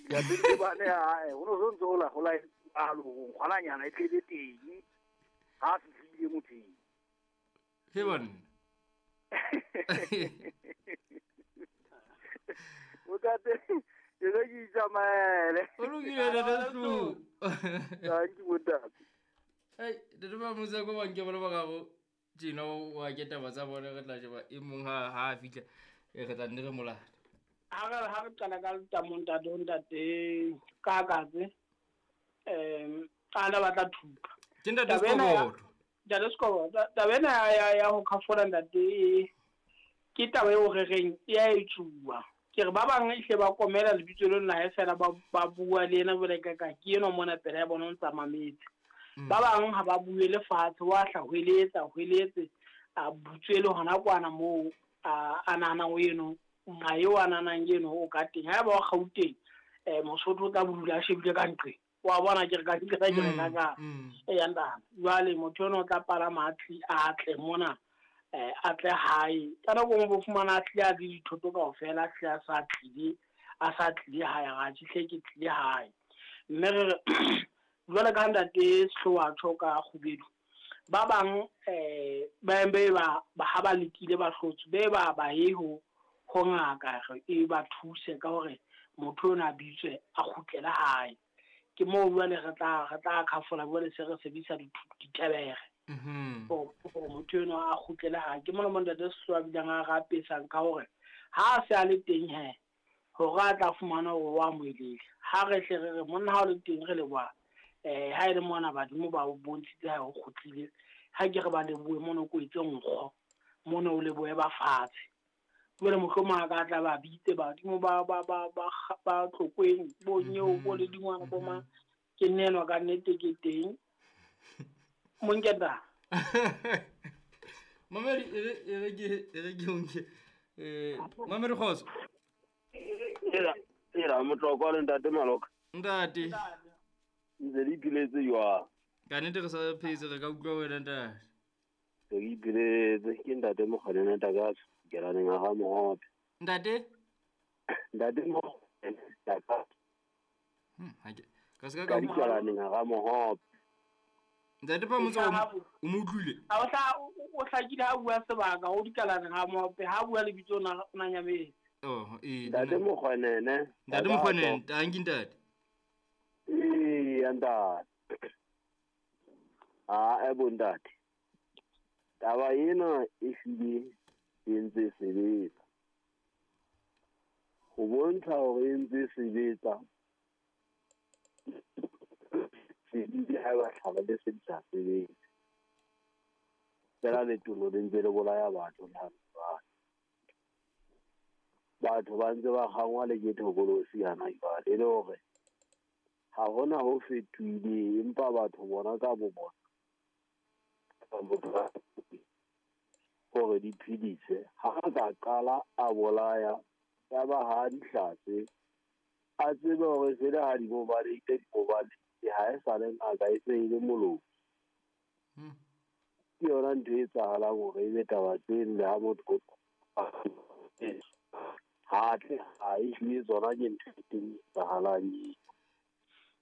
Lapeng bane hae ho no so ntse ho la ho la alo ngwananyana e tlebe teng ha fihlile motheng. He banna. Ntate ke re ke itsamaele. O lokile ntate Sehloho. Thank you bontate. Ei, ntate Mamusa ko banke ba le bararo tjena wa ke taba tsa bona re tla sheba e mong ha ha a fihla e re tla nne re molata. Ha re qala ka letamo ntate o ntate Kakatse a na batla thupa. Ke ntate Taba ena ya Sekoboto. Ntate Sekoboto, taba ena ya ho khafola ntate ke taba eo re reng e a etsuwa. Ke re ba bang ehle ba komela lebitso leo nae fela ba bua le yena jwale ka ka ke enwa mona pela ya bona o ntsa mametse. Ba bang ha ba bue le fatshe wa hla hweletsa hweletse a butswe le hona kwana moo a nahanang o eno nqa eo a nahanang eno o ka teng. Haeba wa Gauteng Mosotho o tla bodula a shebile ka nqeng. Wa bona ke re ka ke re ka ka e ntate. Jwale motho eno o tla palama a tle mona a tle hae. Ka nako e nngwe bo fumana a tlile a le dithoto kaofela, a tlile a sa tlile hae, ra tjhe hle ke tlile hae. Mme re re jwale ka ntate Sehloho a tjho ka Kgubedu, ba bang ba be ba ha ba lekile ba hlotswe, be ba ba ye ho ngaka e ba thuse ka hore motho ona a bitswe a kgutlele hae. Ke moo jwale re tla khafola jwale se re sebedisa ditebere. Hore motho enwa a kgutlele hae. Ke mona mo ntate Sehloho a bileng a rapesang ka hore ha a se a le teng he hore a tla fumana hore wa amohelehile. Ha re hle re re monna ha o le teng re leboha ha e le mona badimo ba o bontshitse ha o kgutlile. Ha ke re ba lebohe mona o kwetse nkgo, mona o lebohe ba fatshe. Jwale mohlomong a ka tla ba bitse badimo ba Tlokweng bo Nyeo bo le dingwana bo mang. Ke nnenwa ka nnete ke teng. Monketa. Mamedi e re ke onke. Mamedi kgotso. Era motlokwa le ntate Maloka. Ntate. Ntse le ipiletse jwang? Ka nnete re sa phetse re ka utlwa wena ntate. Re ipiletse ke ntate Mokgwanene Takatso. Ke la neng ga mohope. Ntate? Ntate Mokgwanene Takatso. Ka se ka ka la neng ga mohope. Ntate pa motse o mo utlwile? Ha o hlakile ha bua sebaka o dikalaneng ha mohope ha bua lebitso na nyametse. Oh, eh. Ntate Mokgwanene. Ntate Mokgwanene, tanki ntate. Eh, ntate. Ah, e bo ntate. Taba ena e hlile e ntse sebetsa. Ho bontsha hore e ntse sebetsa. Sebedile ha ba hlaba le se di sa sebetse. Fela letolo le ntse le bolaya batho le ha jwale. Batho ba ntse ba kgangwa le ke thokolosi hana jwale, e le hore ha hona ho fetohile empa batho bona ka bo bona hore di phedise. Ha a ka qala a bolaya ya ba ha di hlatse, a tsebe hore se le ha di mo balehile, di mo balehile, ha e sa le ngaka e se e le moloi. Ke yona ntho e etsahalang hore ebe taba tseno le ha motho ha tle ha e hlile tsona ke ntho e teng e etsahalang eo.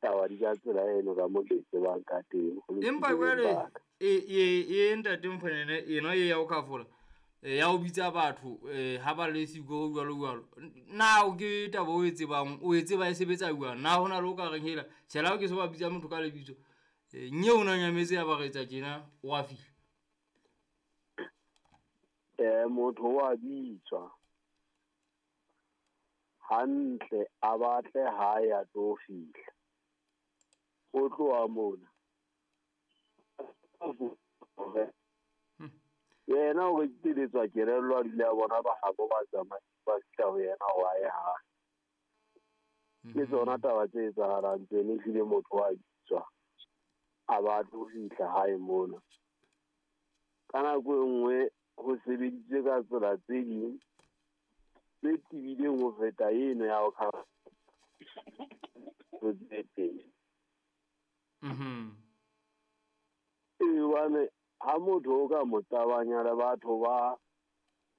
Taba di ka tsela eno ka mo ke tsebang ka teng. Empa jwale e ntate Mokgwanene ena e ya ho khafola ya ho bitsa batho ha ba le siko jwalo jwalo. Na o ke taba o e tsebang, o e tseba e sebetsa jwang? Na hona le o ka reng hela tjhela ke se ba bitsa motho ka lebitso nye o na nyametse ya ba re etsa tjena o a fihla. Motho wa bitswa hantle a batle ha ya tlo fihla. O tloha mona. Yena o re teletswa kelello a dule a bona ba habo ba tsamaya ba fihla ho yena wa ye hae. Ke tsona taba tse etsahalang tseno, ehlile motho wa bitswa a batle ho fihla hae mona. Ka nako e nngwe ho sebeditswe ka tsela tse ding tse tebileng ho feta eno ya ho tse teng. Hobane ha motho o ka mo tabanya le batho ba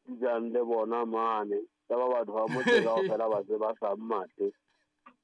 dulang le bona mane, tsa ba batho ba motse kaofela ba se ba sa mmatle.